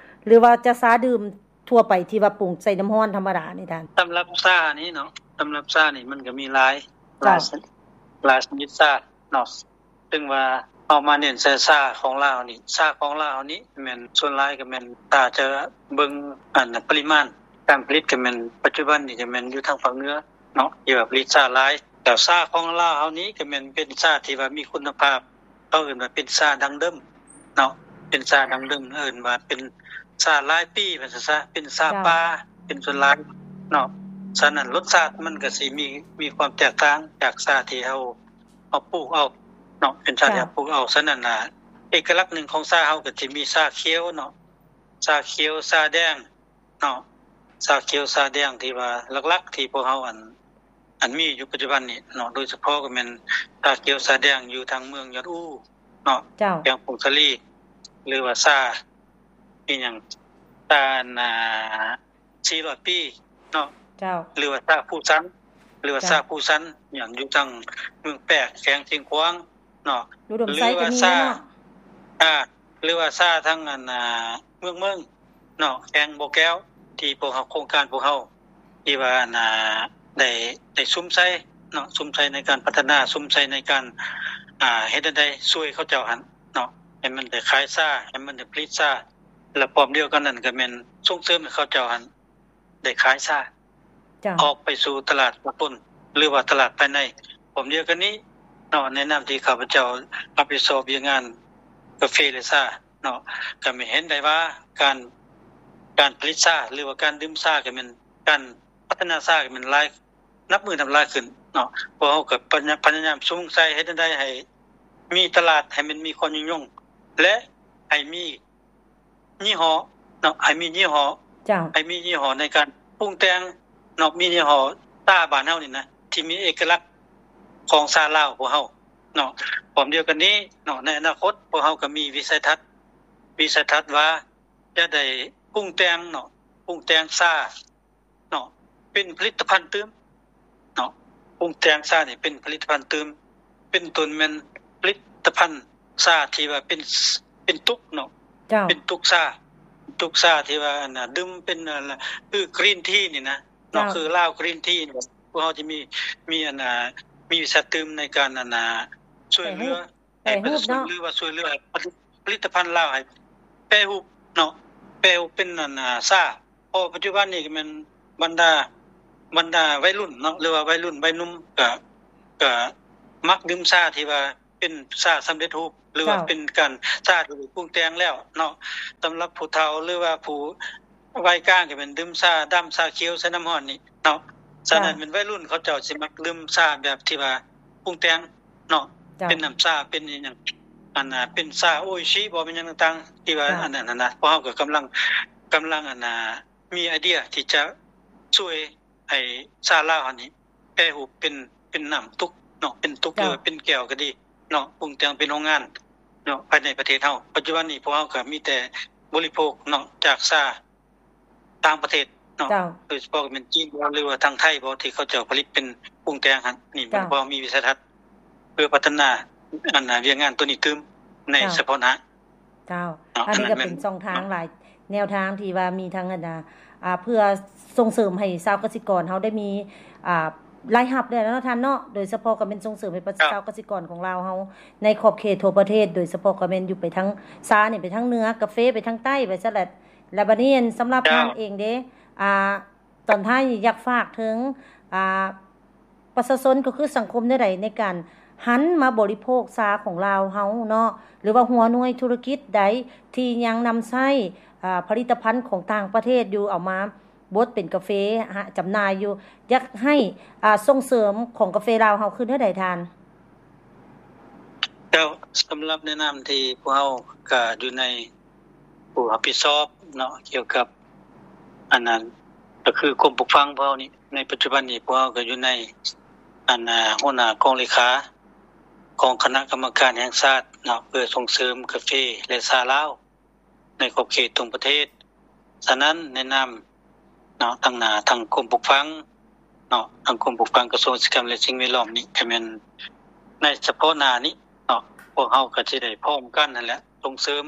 ຫຼືວ່າຈະຊາດື່ມທົ່ວໄປທີ່ວ່າປຸງໃສ່ນ້ຳຮ້ອນທຳມະດານີ້ທ່ານ? ສຳລັບຊານີ້ເນາະ ສຳລັບຊານີ້ມັນກໍມີຫຼາຍ ເຈົ້າ ຫຼາຍຊະ ຫຼາຍຊະນິດຊາເນາະ. ເຊິ່ງວ່າເຮົາມາເນັ້ນໃສ່ຊາຂອງລາວນີ້ ຊາຂອງລາວນີ້ແມ່ນສ່ວນຫຼາຍກໍແມ່ນ ຖ້າຈະເບິ່ງອັນປະລິມານການຜະລິດກໍແມ່ນ ປັດຈຸບັນນີ້ກໍແມ່ນຢູ່ທາງພາກເໜືອເນາະ ທີ່ວ່າຜະລິດຊາຫຼາຍ. ແລ້ວຊາຂອງລາວເຮົານີ້ກໍແມ່ນເປັນຊາທີ່ວ່າມີຄຸນນະພາບ ເຂົາເອີ້ນວ່າເປັນຊາດັ້ງເດີມເນາະ ເປັນຊາດັ້ງເດີມ ເອີ້ນວ່າເປັນຊາຫຼາຍປີວ່າຊັ້ນຊະ ເປັນຊາ ເຈົ້າ ປ່າເປັນສ່ວນຫຼາຍເນາະ. ສະນັ້ນລົດຊາດມັນກໍຊິມີ ມີຄວາມແຕກຕ່າງຈາກຊາທີ່ເຮົາ ເຮົາປູກເອົາເນາະ ເປັນຊາທີ່ ເຈົ້າ ເຮົາປູກເອົາ. ສະນັ້ນນະ ເອກະລັກໜຶ່ງຂອງຊາເຮົາກໍຊິມີຊາຂຽວເນາະ ຊາຂຽວ ຊາແດງເນາະ ຊາຂຽວ ຊາແດງທີ່ວ່າຫຼັກໆ ທີ່ພວກເຮົາອັນ ອັນມີຢູ່ປັດຈຸບັນນີ້ເນາະ ໂດຍສະເພາະກໍແມ່ນຊາຂຽວ ຊາແດງຢູ່ທາງເມືອງຍອດອູເນາະ ເຈົ້າ ແຂວງຜົ້ງສາລີ ຫຼືວ່າຊາ ອີ່ຫຍັງ ຊາ ອັນ ອ່າ ສີ່ຮ້ອຍປີເນາະ ເຈົ້າ ຫຼືວ່າຊາພູຊັນ ຫຼືວ່າ ເຈົ້າ ຊາພູຊັນ ຫຍັງ ຢູ່ທາງເມືອງແປກ ແຂວງຊຽງຂວາງເນາະ ອຸດົມໄຊກໍມີເນາະ ຫຼືວ່າຊາ ອ່າ ຫຼືວ່າຊາທາງອັນ ອ່າ ເມືອງເມິງເນາະ ແຂວງບໍ່ແກ້ວ ທີ່ພວກເຮົາ ໂຄງການພວກເຮົາ ທີ່ວ່າອັນ ອ່າ ໄດ້ ໄດ້ສຸມໃສ່ເນາະ ສຸມໃສ່ໃນການພັດທະນາ ສຸມໃສ່ໃນການ ອ່າ ເຮັດແນວໃດຊ່ວຍເຂົາເຈົ້າຫັ້ນເນາະ ໃຫ້ມັນໄດ້ຂາຍຊາ ໃຫ້ມັນໄດ້ຜະລິດຊາ ແລະ ພ້ອມດຽວກັນນັ້ນກໍແມ່ນສົ່ງເສີມໃຫ້ເຂົາເຈົ້າຫັ້ນ ໄດ້ຂາຍຊາ ເຈົ້າ ອອກໄປສູ່ຕະຫຼາດສາກົນ ຫຼືວ່າຕະຫຼາດພາຍໃນ. ພ້ອມດຽວກັນນີ້ເນາະ ໃນນາມທີ່ຂ້າພະເຈົ້າຮັບຜິດຊອບວຽກງານກາເຟ ແລະ ຊາເນາະ ກໍແມ່ນເຫັນໄດ້ວ່າການ ການຜະລິດຊາ ຫຼືວ່າການດື່ມຊາ ກໍແມ່ນ ການພັດທະນາຊາ ກໍແມ່ນຫຼາຍ ນັບມື້ນັບຫຼາຍຂຶ້ນເນາະ. ພວກເຮົາກໍພະຍາ ພະຍາຍາມສຸມໃສ່ເຮັດແນວໃດໃຫ້ມີຕະຫຼາດ ໃຫ້ມັນມີຄວາມຍືນຍົງ ແລະ ໃຫ້ມີ ຍີ່ຫໍ້ເນາະ ໃຫ້ມີຍີ່ຫໍ້ ເຈົ້າ ໃຫ້ມີຍີ່ຫໍ້ໃນການປຸງແຕ່ງເນາະ ມີຍີ່ຫໍ້ຊາບ້ານເຮົານີ້ນະ ທີ່ມີເອກະລັກຂອງຊາລາວພວກເຮົາເນາະ. ພ້ອມດຽວກັນນີ້ເນາະ ໃນອະນາຄົດພວກເຮົາກໍມີວິໄສທັດ ວິໄສທັດວ່າຈະໄດ້ປຸງແຕ່ງເນາະ ປຸງແຕ່ງຊາ ເນາະ ເປັນຜະລິດຕະພັນຕື່ມເນາະ ປຸງແຕ່ງຊານີ້ເປັນຜະລິດຕະພັນຕື່ມ ເປັນຕົ້ນແມ່ນຜະລິດຕະພັນຊາທີ່ວ່າເປັນ ເປັນຕຸກເນາະ ເຈົ້າ ເປັນຕຸກຊາ ຕຸກຊາທີ່ວ່າອັນນ່າ ດື່ມເປັນ ອັນນ່າ ຄືກຣີນທີນີ້ນະເນາະ ເຈົ້າ ຄືລາວກຣີນທີນີ້ ພວກເຮົາຈະມີ ມີອັນນ່າ ມີວິຊາຕື່ມໃນການອັນນ່າ ຊ່ວຍເຫຼືອ ໃຫ້ປະຊາຊົນ ຫຼືວ່າຊ່ວຍເຫຼືອຜະລິດຕະພັນລາວໃຫ້ແປຮູບເນາະ ແປຮູບເປັນອັນ ອ່າ ຊາ ເພາະປັດຈຸບັນນີ້ກໍແມ່ນບັນດາ ບັນດາໄວລຸ້ນເນາະ ຫຼືວ່າໄວລຸ້ນໄວໜຸ່ມ ກະ ກະມັກດື່ມຊາທີ່ວ່າເປັນຊາສຳເລັດຮູບ ຫຼືວ່າເປັນການຊາທີ່ປຸງແຕ່ງແລ້ວເນາະ. ສຳລັບຜູ້ເຖົ້າ ຫຼືວ່າຜູ້ ໄວກາງກໍແມ່ນດື່ມຊາດຳຊາຂຽວໃສ່ນ້ຳຮ້ອນນີ້ເນາະ. ສະນັ້ນແມ່ນໄວລຸ້ນເຂົາເຈົ້າຊິມັກດື່ມຊາແບບທີ່ວ່າປຸງແຕ່ງເນາະ ເປັນນ້ຳຊາ ເປັນອີ່ຫຍັງ ອັນນ່າ ເປັນຊາໂອອິຊິບໍ ແມ່ນຫຍັງຕ່າງໆ ທີ່ວ່າອັນນັ້ນຫັ້ນນະ. ພວກເຮົາກໍກຳລັງ ກຳລັງ ອັນນ່າ ມີໄອເດຍທີ່ຈະຊ່ວຍໃຫ້ຊາລາວເຮົານີ້ແປຮູບເປັນ ເປັນນ້ຳຕຸກເນາະ ເປັນຕຸກ ຫຼືວ່າເປັນແກ້ວກໍດີເນາະ ປຸງແຕ່ງເປັນໂຮງງານເນາະ ພາຍໃນປະເທດເຮົາ. ປັດຈຸບັນນີ້ພວກເຮົາກໍມີແຕ່ບໍລິໂພກເນາະ ຈາກຊາ ຕ່າງປະເທດເນາະ ໂດຍສະເພາະກໍແມ່ນຈີນບໍ ຫຼືວ່າທາງໄທບໍ ທີ່ເຂົາເຈົ້າຜະລິດເປັນປຸງແຕ່ງຫັ້ນ. ນີ້ມັນພໍມີວິໄສທັດເພື່ອພັດທະນາ ອັນ ວຽກງານໂຕນີ້ຕື່ມໃນສະເພາະໜ້າ. ເຈົ້າ ອັນນີ້ກໍເປັນຊ່ອງທາງຫຼາຍແນວທາງທີ່ວ່າມີທັງ ອັນ ອ່າ ເພື່ອສົ່ງເສີມໃຫ້ຊາວກະສິກອນເຮົາໄດ້ມີ ອ່າ ລາຍຮັບແລ້ວເນາະທ່ານເນາະ ໂດຍສະເພາະກໍແມ່ນສົ່ງເສີມໃຫ້ຊາວກະສິກອນຂອງລາວເຮົາໃນຂອບເຂດທົ່ວປະເທດ ໂດຍສະເພາະກໍແມ່ນຢູ່ໄປທາງຊານີ້ ໄປທາງເໜືອ ກາເຟໄປທາງໃຕ້ ໄປຊັ້ນແຫຼະ. ແລ້ວບັດນີ້ ອັນ ສຳລັບທ່ານເອງເດ້ ອ່າ ຕອນທ້າຍນີ້ຢາກຝາກເຖິງ ອ່າ ປະຊາຊົນ ກໍຄືສັງຄົມແນວໃດ ໃນການຫັນມາບໍລິໂພກຊາຂອງລາວເຮົາເນາະ ຫຼືວ່າຫົວໜ່ວຍທຸລະກິດໃດທີ່ຍັງນຳໃຊ້ ອ່າ ຜະລິດຕະພັນຂອງຕ່າງປະເທດຢູ່ ເອົາມາບົດເປັນກາເຟ ຫາ ຈຳໜ່າຍຢູ່ ຢາກໃຫ້ ອ່າ ສົ່ງເສີມຂອງກາເຟລາວເຮົາຄືແນວໃດທ່ານ? ແລ້ວສຳລັບໃນນາມທີ່ພວກເຮົາກະຢູ່ໃນຜູ້ຮັບຜິດຊອບເນາະ ກ່ຽວກັບອັນນັ້ນ ກໍຄືກົມປູກຝັງພວກເຮົານີ້ ໃນປັດຈຸບັນນີ້ພວກເຮົາກໍຢູ່ໃນອັນ ອາ ຫົວໜ້າກອງເລຂາຂອງຄະນະກຳມະການແຫ່ງຊາດເນາະ ເພື່ອສົ່ງເສີມກາເຟ ແລະ ຊາລາວ ໃນຂອບເຂດທົ່ວປະເທດ. ສະນັ້ນໃນນາມເນາະ ທາງໜ້າທາງກົມປູກຝັງເນາະ ທາງກົມປູກຝັງກະຊວງກະສິກຳ ແລະ ສິ່ງແວດລ້ອມນີ້ ກໍແມ່ນໃນສະເພາະໜ້ານີ້ເນາະ ພວກເຮົາກໍຊິໄດ້ພ້ອມກັນຫັ້ນແຫຼະ ສົ່ງເສີມ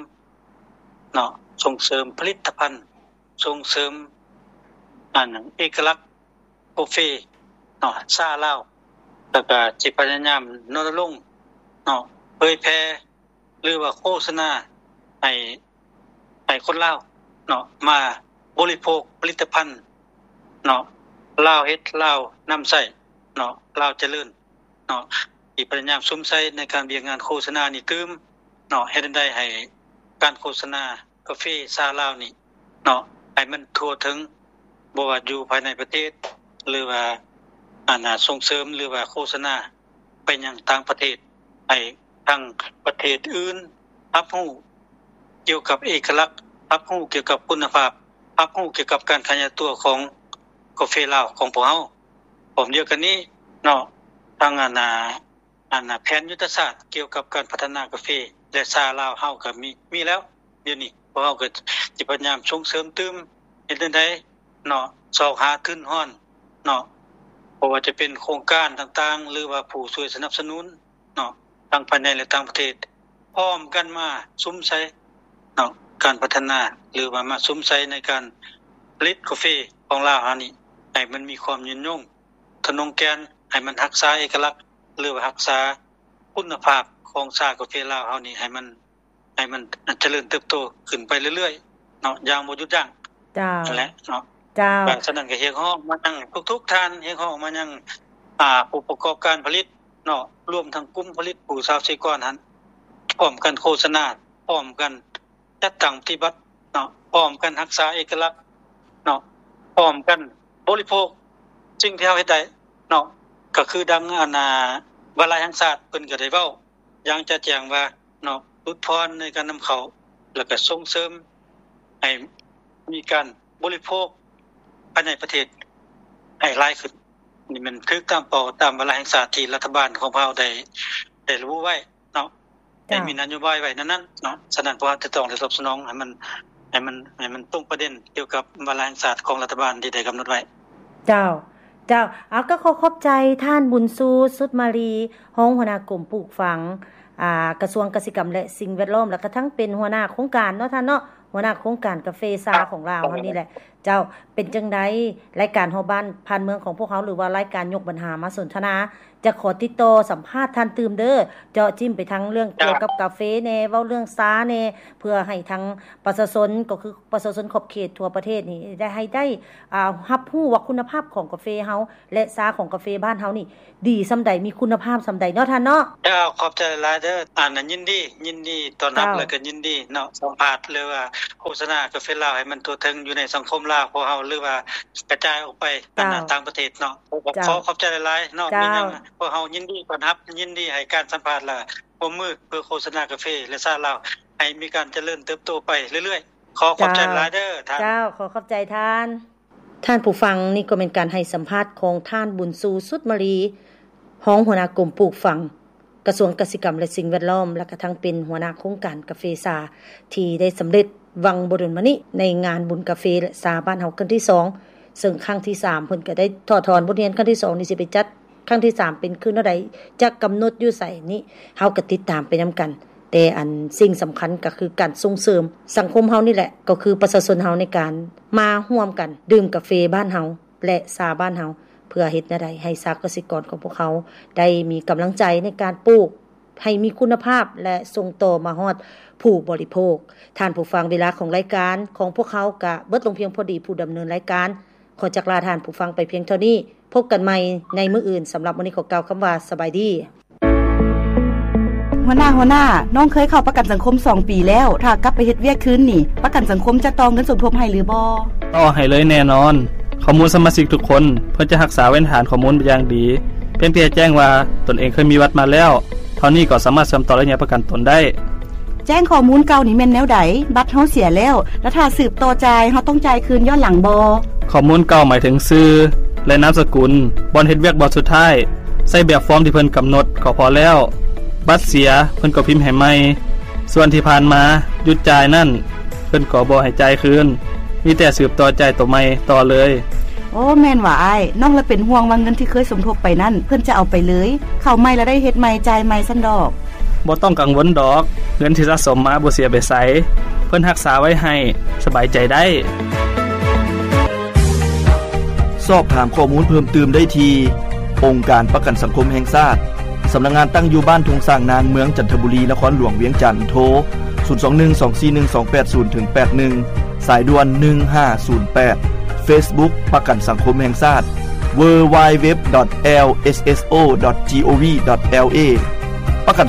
ເນາະ ສົ່ງເສີມຜະລິດຕະພັນ ສົ່ງເສີມອັນເອກະລັກ ກາເຟເນາະ ຊາລາວ ແລ້ວກະຊິພະຍາຍາມລົນນະລົງເນາະ ເຜີຍແຜ່ ຫຼືວ່າໂຄສະນາໃຫ້ ໃຫ້ຄົນລາວເນາະ ມາບໍລິໂພກຜະລິດຕະພັນເນາະ ລາວເຮັດ ລາວນຳໃຊ້ເນາະ ລາວຈະເລີນ ເນາະ ທີ່ພະຍາຍາມສຸມໃສ່ໃນການວຽກງານໂຄສະນານີ້ຕື່ມເນາະ ເຮັດແນວໃດໃຫ້ການໂຄສະນາກາເຟຊາລາວນີ້ເນາະ ໃຫ້ມັນທົ່ວເຖິງ ບໍ່ວ່າຢູ່ພາຍໃນປະເທດ ຫຼືວ່າ ອັນ ສົ່ງເສີມ ຫຼືວ່າໂຄສະນາໄປຍັງຕ່າງປະເທດ ໃຫ້ທາງປະເທດອື່ນຮັບຮູ້ກ່ຽວກັບເອກະລັກ ຮັບຮູ້ກ່ຽວກັບຄຸນນະພາບ ຮັບຮູ້ກ່ຽວກັບການຂະຫຍາຍຕົວຂອງກາເຟລາວຂອງພວກເຮົາ. ພ້ອມດຽວກັນນີ້ເນາະ ທາງອັນ ອັນແຜນຍຸດທະສາດກ່ຽວກັບການພັດທະນາກາເຟ ແລະ ຊາລາວເຮົາກໍມີ ມີແລ້ວ. ດຽວນີ້ພວກເຮົາກໍຈະພະຍາຍາມສົ່ງເສີມຕື່ມ ເຮັດແນວໃດເນາະ ຊອກຫາທຶນຮອນເນາະ ບໍ່ວ່າຈະເປັນໂຄງການຕ່າງໆ ຫຼືວ່າຜູ້ຊ່ວຍສະໜັບສະໜູນເນາະ ທັງພາຍໃນ ແລະ ຕ່າງປະເທດ ພ້ອມກັນມາສຸມໃສ່ເນາະ ການພັດທະນາ ຫຼືວ່າມາສຸມໃສ່ໃນການຜະລິດກາເຟຂອງລາວເຮົານີ້ ໃຫ້ມັນມີຄວາມຍືນຍົງ ທະນົງແກ່ນ ໃຫ້ມັນຮັກສາເອກະລັກ ຫຼືວ່າຮັກສາຄຸນນະພາບຂອງຊາກາເຟລາວເຮົານີ້ ໃຫ້ມັນ ໃຫ້ມັນຈະເລີນເຕີບໂຕຂຶ້ນໄປເລື້ອຍໆເນາະ ຢ່າງບໍ່ຢຸດຢັ້ງ. ເຈົ້າ ນັ້ນແຫຼະເນາະ. ເຈົ້າ ສະນັ້ນກໍຮຽກຮ້ອງມາຍັງທຸກໆທ່ານ ຮຽກຮ້ອງມາຍັງ ອາ ຜູ້ປະກອບການຜະລິດເນາະ ລວມທັງກຸ່ມຜະລິດ ຜູ້ຊາວເສຍກອນຫັ້ນ ພ້ອມກັນໂຄສະນາ ພ້ອມກັນ ຈັດຕັ້ງປະຕິບັດເນາະ ພ້ອມກັນຮັກສາເອກະລັກເນາະ ພ້ອມກັນບໍລິໂພກສິ່ງທີ່ເຮົາເຮັດໄດ້ເນາະ ກໍຄືດັ່ງອັນ ອາ ວາລະແຫ່ງຊາດເພິ່ນກໍໄດ້ເວົ້າຢ່າງຈະແຈ້ງວ່າເນາະ ຫຼຸດຜ່ອນໃນການນຳເຂົ້າ ແລ້ວກໍສົ່ງເສີມໃຫ້ມີການບໍລິໂພກພາຍໃນປະເທດໃຫ້ຫຼາຍຂຶ້ນ. ນີ້ແມ່ນຖືກຕາມເປົ້າ ຕາມວາລະແຫ່ງຊາດທີ່ລັດຖະບານຂອງພວກເຮົາໄດ້ ໄດ້ລະບຸໄວ້ເນາະ ໄດ້ມີນະໂຍບາຍໄວ້ນັ້ນໆເນາະ. ສະນັ້ນ ພວກເຮົາຈະຕ້ອງໄດ້ຕອບສະໜອງໃຫ້ມັນ ໃຫ້ມັນ ໃຫ້ມັນຕົງປະເດັນກ່ຽວກັບວາລະແຫ່ງຊາດຂອງລັດຖະບານທີ່ໄດ້ກຳນົດໄວ້. ເຈົ້າ ເຈົ້າ ເອົາ ກໍຂໍຂອບໃຈທ່ານບຸນຊູ ສຸດມາລີ ຮອງຫົວໜ້າກົມປູກຝັງ ອາ ກະຊວງກະສິກຳ ແລະ ສິ່ງແວດລ້ອມ ແລ້ວກະທັງເປັນຫົວໜ້າໂຄງການເນາະທ່ານເນາະ ຫົວໜ້າໂຄງການກາເຟຊາຂອງລາວເຮົານີ້ແຫຼະ. ເຈົ້າ ເປັນຈັ່ງໃດ ລາຍການຮອບບ້ານຜ່ານເມືອງຂອງພວກເຮົາ ຫຼືວ່າລາຍການຍົກບັນຫາມາສົນທະນາ ຈະຂໍຕິດຕໍ່ສຳພາດທ່ານຕື່ມເດີ ເຈາະຈິ້ມໄປທາງເລື່ອງກ່ຽວກັບກາເຟແດ່ ເວົ້າເລື່ອງຊາແດ່ ເພື່ອໃຫ້ທາງປະຊາຊົນ ກໍຄືປະຊາຊົນຂອບເຂດທົ່ວປະເທດນີ້ ໄດ້ ໃຫ້ໄດ້ ອາ ຮັບຮູ້ວ່າຄຸນນະພາບຂອງກາເຟເຮົາ ແລະ ຊາຂອງກາເຟບ້ານເຮົານີ້ ດີສ່ຳໃດ ມີຄຸນນະພາບສ່ຳໃດເນາະທ່ານເນາະ. ເຈົ້າ ຂອບໃຈຫຼາຍເດີ ອັນ ຍິນດີ ຍິນດີຕ້ອນຮັບ ເຈົ້າ ແລ້ວກໍຍິນດີເນາະ ສຳພາດ ຫຼືວ່າໂຄສະນາກາເຟລາວໃຫ້ມັນທົ່ວເຖິງຢູ່ໃນສັງຄົມລາວຂອງເຮົາ ຫຼືວ່າກະຈາຍອອກໄປ ເຈົ້າ ຕ່າງປະເທດເນາະ. ເຈົ້າ ຂໍຂອບໃຈຫຼາຍໆເນາະ ເຈົ້າ ມີຫຍັງພວກເຮົາຍິນດີຕ້ອນຮັບ ຍິນດີໃຫ້ການສຳພາດ ແລະ ຮ່ວມມືເພື່ອໂຄສະນາກາເຟ ແລະ ຊາລາວ ໃຫ້ມີການຈະເລີນເຕີບໂຕໄປເລື້ອຍໆ. ຂໍຂອບໃຈຫຼາຍເດີທ່ານ. ເຈົ້າ ຂໍຂອບໃຈທ່ານ. ທ່ານຜູ້ຟັງ, ນີ້ກໍແມ່ນການໃຫ້ສຳພາດຂອງທ່ານ ບຸນຊູ ສຸດມາລີ ຮອງຫົວໜ້າກົມປູກຝັງ ກະຊວງກະສິກຳ ແລະ ສິ່ງແວດລ້ອມ ແລະ ກະທັງເປັນຫົວໜ້າໂຄງການກາເຟຊາ ທີ່ໄດ້ສຳເລັດຫວ່າງບໍ່ດົນມານີ້ ໃນງານບຸນກາເຟ ແລະ ຊາບ້ານເຮົາຄັ້ງທີສອງ ເຊິ່ງຄັ້ງທີສາມເພິ່ນກະໄດ້ຖອດຖອນບົດຮຽນຄັ້ງທີສອງນີ້ ຊິໄປຈັດ ຄັ້ງທີສາມເປັນຄືແນວໃດ ຈະກຳນົດຢູ່ໃສນີ້ ເຮົາກໍຕິດຕາມໄປນຳກັນ. ແຕ່ອັນສິ່ງສຳຄັນກໍຄືການສົ່ງເສີມສັງຄົມເຮົານີ້ແຫຼະ ກໍຄືປະຊາຊົນເຮົາໃນການມາຮ່ວມກັນດື່ມກາເຟບ້ານເຮົາ ແລະ ຊາບ້ານເຮົາ ເພື່ອເຮັດແນວໃດໃຫ້ຊາວກະສິກອນຂອງພວກເຮົາໄດ້ມີກຳລັງໃຈໃນການປູກ ໃຫ້ມີຄຸນນະພາບ ແລະ ສົ່ງຕໍ່ມາຮອດຜູ້ບໍລິໂພກ. ທ່ານຜູ້ຟັງ, ເວລາຂອງລາຍການຂອງພວກເຮົາກະເບິດລົງພຽງພໍດີ. ຜູ້ດຳເນີນລາຍການ ຂໍຈັກລາທ່ານຜູ້ຟັງໄປພຽງເທົ່ານີ້. ພົບກັນໃໝ່ໃນມື້ອື່ນ. ສຳລັບມື້ນີ້ຂໍກ່າວຄຳວ່າສະບາຍດີ. ຫົວໜ້າ, ຫົວໜ້າ, ນ້ອງເຄີຍເຂົ້າປະກັນສັງຄົມສອງປີແລ້ວ. ຖ້າກັບໄປເຮັດວຽກຄືນນີ້, ປະກັນສັງຄົມຈະຕໍ່ເງິນສົມທົບໃຫ້ຫຼືບໍ່? ຕໍ່ໃຫ້ເລີຍແນ່ນອນ. ຂໍ້ມູນສະມາຊິກທຸກຄົນ ເພິ່ນຈະຮັກສາເວນຖານຂໍ້ມູນຢ່າງດີ. ພຽງແຕ່ແຈ້ງວ່າຕົນເອງເຄີຍມີບັດມາແລ້ວ. ເທົ່ານີ້ກໍສາມາດເຊື່ອມຕໍ່ ແລະ ແຍກປະກັນຕົນໄດ້. ແຈ້ງຂໍ້ມູນເກົ່ານີ້ແມ່ນແນວໃດ? ບັດເຮົາເສຍແລ້ວ ແລະ ຖ້າສືບຕໍ່ຈ່າຍ ເຮົາຕ້ອງຈ່າຍຄືນຍ້ອນຫຼັງບໍ່? ຂໍ້ມູນເກົ່າໝາຍເຖິງຊື່ ແລະ ນາມສະກຸນ, ບ່ອນເຮັດວຽກບ່ອນສຸດທ້າຍ, ໃຊ້ແບບຟອມທີ່ເພິ່ນກຳນົດກໍພໍແລ້ວ. ບັດເສຍ ເພິ່ນກໍພິມໃຫ້ໃໝ່. ສ່ວນທີ່ຜ່ານມາຢຸດຈ່າຍນັ້ນ ເພິ່ນກໍບໍ່ໃຫ້ຈ່າຍຄືນ, ມີແຕ່ສືບຕໍ່ຈ່າຍໂຕໃໝ່ຕໍ່ເລີຍ. ໂອ້ ແມ່ນຫວາອ້າຍ. ນ້ອງລະເປັນຫ່ວງວ່າເງິນທີ່ເຄີຍສົມທົບໄປນັ້ນ ເພິ່ນຈະເອົາໄປເລີຍ. ເຂົ້າໃໝ່ລະໄດ້ເຮັດໃໝ່ ຈ່າຍໃໝ່ຊັ້ນດອກ. ບໍ່ຕ້ອງກັງວົນດອກ, ເງິນທີ່ສະສົມມາບໍ່ເສຍໄປໃສ, ເພິ່ນຮັກສາໄວ້ໃຫ້, ສະບາຍໃຈໄດ້. ສອບຖາມຂໍ້ມູນເພີ່ມຕື່ມໄດ້ທີ່ ອົງການປະກັນສັງຄົມແຫ່ງຊາດ, ສຳນັກງານຕັ້ງຢູ່ບ້ານທົ່ງຊ້າງນາງ, ເມືອງຈັນທະບູລີ, ນະຄອນຫຼວງວຽງຈັນ. ໂທ ສູນສອງໜຶ່ງ ສອງສີ່ໜຶ່ງ ສອງແປດສູນ ເຖິງ ແປດໜຶ່ງ, ສາຍດ່ວນ ໜຶ່ງຫ້າສູນແປດ. ເຟສບຸກ ປະກັນສັງຄົມແຫ່ງຊາດ www.lsso.gov.la. ປະກັນສັງ